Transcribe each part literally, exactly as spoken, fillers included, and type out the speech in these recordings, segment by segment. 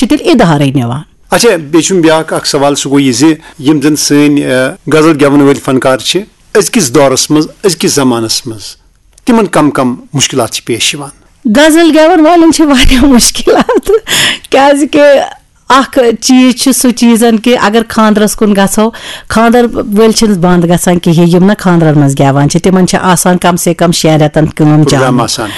چھِ تیٚلہِ ادارے نِوان۔ اچھا، بیٚیہِ چھُم بیٛاکھ اکھ سوال، سُہ گوٚو یہِ زِ یِم زن سٲنۍ، آ، غزل گٮ۪ون وٲلۍ فنکار چھِ، أزکِس دورس منٛز، أزکِس زمانس منٛز تِمن کم کم مُشکِلات چھِ پیش یِوان؟ غزل گٮ۪ون والٮ۪ن چھِ واریاہ مُشکِلات، کیازِ کہِ اکھ چیٖز چھُ سُہ چیٖزن کہِ اگر خاندرس کُن گژھو، خاندر وٲلۍ چھِنہٕ بنٛد گژھان کِہیٖنۍ، یِم نہ خاندرن منٛز گٮ۪وان چھِ، تِمن چھِ آسان کم سے کم شٮ۪ن رٮ۪تن کٲم پروگرام چالو، آسان۔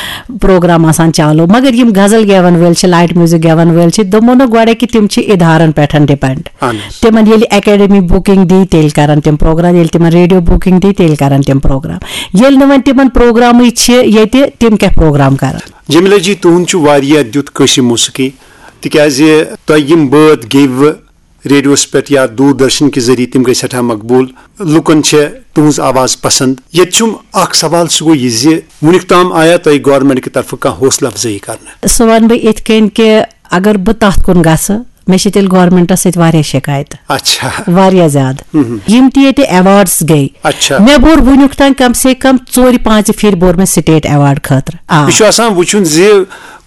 پروگرام آسان چالو، مگر یِم غزل گٮ۪ون وٲلۍ چھِ، لایٹ میوزک گٮ۪ون وٲلۍ چھِ، دوٚپمو نہ گۄڈے کہِ تِم چھِ ادارن پٮ۪ٹھ ڈِپینڈ۔ اہن حظ۔ تِمن ییٚلہِ اکیڈمی بُکِنگ دی، تیٚلہِ کرن تِم پروگرام، ییٚلہِ تِمن ریڈیو بُکِنگ دی، تیٚلہِ کرن تِم پروگرام۔ ییٚلہِ نہٕ وۄنۍ تِمن پروگرامٕے چھِ ییٚتہِ، تِم کیٛاہ پروگرام کرن؟ جمیلہ جی، تُہُنٛد چھُ واریاہ دیُت کٲشرِ موسیقی، تِکیازِ تۄہہِ یِم بٲتھ گیٚوٕ ریڈیوس پٮ۪ٹھ یا دوٗردرشن کہِ ذٔریعہٕ، تِم گٔے سٮ۪ٹھاہ مقبوٗل۔ لُکن چھےٚ تُہٕنٛز آواز پسند۔ ییٚتہِ چھُم اکھ سوال، سُہ گوٚو یہِ زِ وُنیُک تام آیا تۄہہِ گورنمنٹ کہِ طرفہٕ کانٛہہ حوصلہٕ افزٲیی کرنہٕ؟ سُہ وَنہٕ بہٕ یِتھ کٔنۍ کہِ اگر بہٕ تَتھ کُن گژھٕ، مےٚ چھِ تیٚلہِ گورنمنٹس سۭتۍ واریاہ شِکایتہٕ۔ اچھا۔ واریاہ زیادٕ۔ مہم۔ یِم تہِ ییٚتہِ ایوارڈس گٔے، اچھا۔ مےٚ بوٚر وُنیُک تام کم سے کم ژورِ پانٛژِ پھِرِ بوٚر مےٚ سٹیٹ ایوارڈ خٲطرٕ۔ آ۔ یہِ چھُ آسان وٕچھُن زِ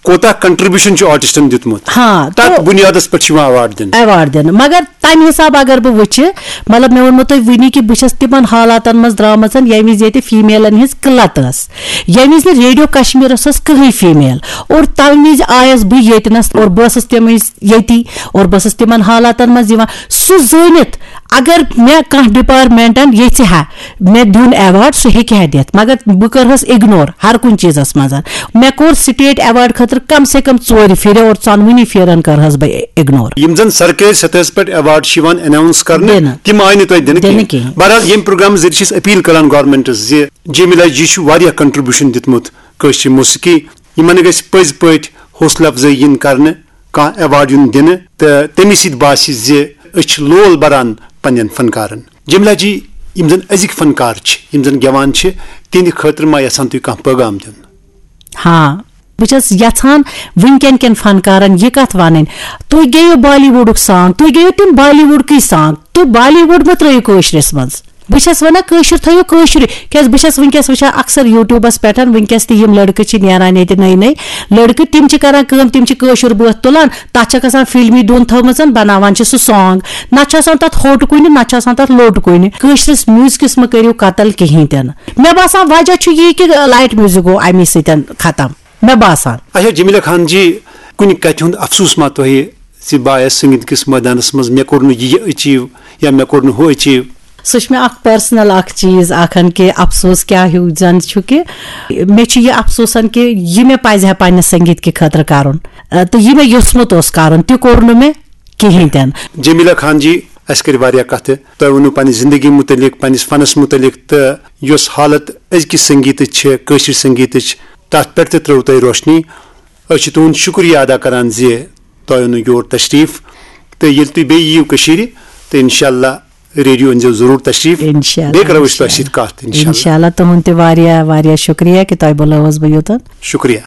کوتاہ کنٹریبیوشن چھُ آرٹسٹن دیُتمُت۔ ہاں، تتھ تو بُنیادس پٮ۪ٹھ چھُ یِوان ایوارڈ دِنہٕ۔ ایوارڈ دِنہٕ۔ مگر تمہِ حساب اگر بہٕ وٕچھِ، مطلب، مےٚ ووٚنمو تۄہہِ وٕنی کہِ بہٕ چھَس تِمن حالاتن منٛز درٛامٕژ، ییٚمہِ وِزِ ییٚتہِ فیمیلن ہٕنٛز قلت ٲس، ییٚمہِ وِزِ نہٕ ریڈیو کشمیر ٲس کٕہٕنۍ فیمیل، اور تمہِ وِزِ آیس بہٕ ییٚتہِ نس اور بہٕ ٲسٕس تِم وِزِ ییٚتی اور بہٕ ٲسٕس تِمن حالاتن منٛز یِوان۔ سُہ زٲنِتھ اگر مےٚ کانٛہہ ڈپارٹمنٹن یژھِ ہا مےٚ دیُن ایوارڈ، سُہ ہیٚکہِ ہا دِتھ، مگر بہٕ کٔرہس اگنور ہر کُنہِ چیٖزس منٛز۔ مےٚ کوٚر سٹیٹ ایوارڈ خٲطرٕ کم سے کم ژورِ پھِرِ اور ژۄنوٕنی پھِرن کٔرہس بہٕ اگنور۔ یِم زن سرکٲرۍ سطحس پٮ۪ٹھ ایوارڈ چھِ یِوان اناؤنس کرنہٕ، دِنہٕ۔ تِم آیہِ نہٕ تۄہہِ دِنہٕ دِنہٕ کینٛہہ۔ کینٛہہ۔ بہرحال، ییٚمہِ پروگرام ذٔریعہٕ چھِ أسۍ اپیل کران گورنمنٹس زِ جمیلہ جی چھُ واریاہ کنٹریبیوشن دیُتمُت کٲشرِ موسیقی، یِمن گژھِ پٔزۍ پٲٹھۍ حوصلہٕ افزٲیی یِن کرنہٕ، کانٛہہ ایوارڈ یُن دِنہٕ، تہٕ تَمی سۭتۍ باسہِ زِ أسۍ چھِ لول بران پننٮ۪ن فنکارن۔ جمیلہ جی، یِم زن أزِکۍ فنکار چھِ، یِم زن گٮ۪وان چھِ، تِہنٛدِ خٲطرٕ ما یژھان تُہۍ کانٛہہ پیغام دیُن؟ ہاں، بہٕ چھَس یژھان وٕنکٮ۪ن کٮ۪ن فنکارن یہِ کتھ ونٕنۍ، تُہۍ گیٚیِو بالی وُڈُک سانگ، تُہۍ گیٚیِو تِم بالی وُڈکٕے سانگ، تُہۍ بالی وُڈ مہ ترٲیِو کٲشرِس منٛز۔ بہٕ چھَس وَنان کٲشُر تھٲیِو کٲشرُے، کیٛازِ بہٕ چھَس وٕنکیٚس وٕچھان اکثر YouTubeس پٮ۪ٹھ، وٕنکیٚس تہِ یِم لٔڑکہٕ چھِ نیران ییٚتہِ نٔے نٔے لٔڑکہٕ، تِم چھِ کران کٲم، تِم چھِ کٲشُر بٲتھ تُلان، تَتھ چھَکھ آسان فِلمی دُن تھٲومٕژ، بَناوان چھِ سُہ سانگ، نہ چھُ آسان تَتھ ہوٚٹ کُنہِ، نہ چھُ آسان تَتھ لوٚٹ کُنہِ۔ کٲشرِس میوٗزکَس مہ کٔرِو قتل کِہیٖنۍ تہِ نہٕ۔ مےٚ باسان وجہ چھُ یی کہِ لایٹ میوٗزک گوٚو اَمی سۭتۍ ختم، مےٚ باسان۔ اچھا جمیلہ خان جی، کُنہِ کتھِ ہُنٛد افسوٗس ما تۄہہِ زِ بہٕ آیس سنگیت کِس مٲدانس منٛز، مےٚ کوٚر نہٕ یہِ achieve یا مےٚ کوٚر نہٕ ہُہ achieve؟ سُہ چھُ مےٚ اکھ personal اکھ چیٖز اکھ ہن کہِ افسوٗس کیٛاہ ہیوٗ زن چھُ کہِ مےٚ چھُ یہِ افسوٗسن کہِ یہِ مےٚ پزِ ہا پننہِ سنگیت کہِ خٲطرٕ کرُن، ٲ، تہٕ یہِ مےٚ یوٚژھمُت اوس کرُن، تہِ کوٚر نہٕ مےٚ کِہیٖنۍ تہِ نہٕ۔ جمیلہ خان جی، اسہِ کٔرۍ واریاہ کتھٕ، تۄہہِ ووٚنوٕ پننہِ زندگی متعلق، پننِس فنس متعلق، تہٕ یۄس حالت أزکِس سنگیتٕچ چھِ، کٲشرِ سنگیتٕچ، تتھ پٮ۪ٹھ تہِ ترٲو تۄہہِ روشنی۔ أسۍ چھِ تُہُنٛد شُکریہ ادا کران زِ تۄہہِ اوٚنوٕ یور تشریٖف، تہٕ ییٚلہِ تُہۍ بیٚیہِ یِیِو کٔشیٖرِ، تہٕ انشاءاللہ ریڈیو أنۍزیو ضروٗر تشریٖف۔ انشاءاللہ، بیٚیہِ کرو أسۍ تۄہہِ انشاءاللہ۔ سۭتۍ کتھ، انشاءاللہ۔ انشاءاللہ، تُہُنٛد تہِ واریاہ واریاہ شُکریہ کہِ تۄہہِ بُلٲوٕس بہٕ یوٚتَن۔ شُکریہ۔